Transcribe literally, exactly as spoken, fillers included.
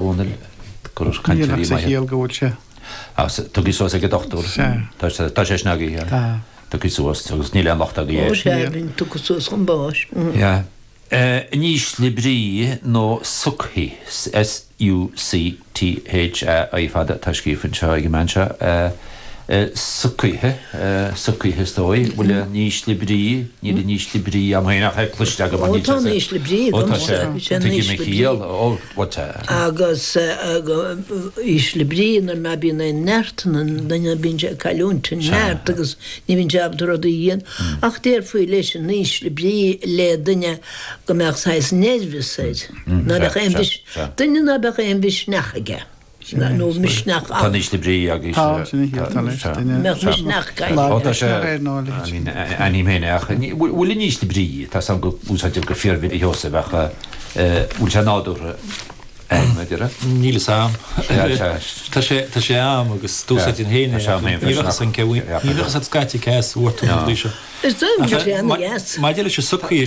Dhónaill, go raibh Níl cainteoirí ach sa maithe. chiall go bhfuil sé. Agus tugtha suas ag an dochtúir. Sea. Tá sé tá sé snagaithe. Tá. Tugtha suas agus níl aon locht agaibh Ó air. sea, bíonn tugtha suas chun báis. Yeah. In ísle brí nó sucthaí, S-U-C-T-H-A-I fada atá scríofa anseo ag an mbean seo, sucthaithe, sucthaithe is dóigh, bhfuil in ísle brí, níl in ísle brí agam féin ach é cloiste agam Ó tá in ísle brí Ó tá sé, agamsa, sé in tuigim a ísle brí. chiall, ó what a. Agus ísle brí nuair ná bíonn aon neart in an duine bíonn sé ag cailliúint an neart agus ní bhíonn sé ábalta rudaí a dhéanamh. Ach déarfaí leis in ísle brí le duine go mbeadh saghas nervous air, ná beadh aon mhis, duine ná beadh aon mhisneach aige, nó misneach Tá in ísle brí agus Tá, sin a chiall, tá leis, duine mbeadh misneach Ó aige. tá sé, Misneach air nó a leithéid. I mean, ainm féin ach bhfuil in ísle brí, tá a fhios agam go úsáidtear go fíormhinic a Sheosaimh ach bhfuil sé nádúrtha a déarfá? Níl fhios a'm. Tá sé tá sé am agus d'úsáidfinn féin Tá sé am féin Ní bheadh an ceann ní bheadh an scaite ceas bhfuair tú an seo. Is dóigh go bhfuil sé ana-dheas. Maidir leis an sucthaí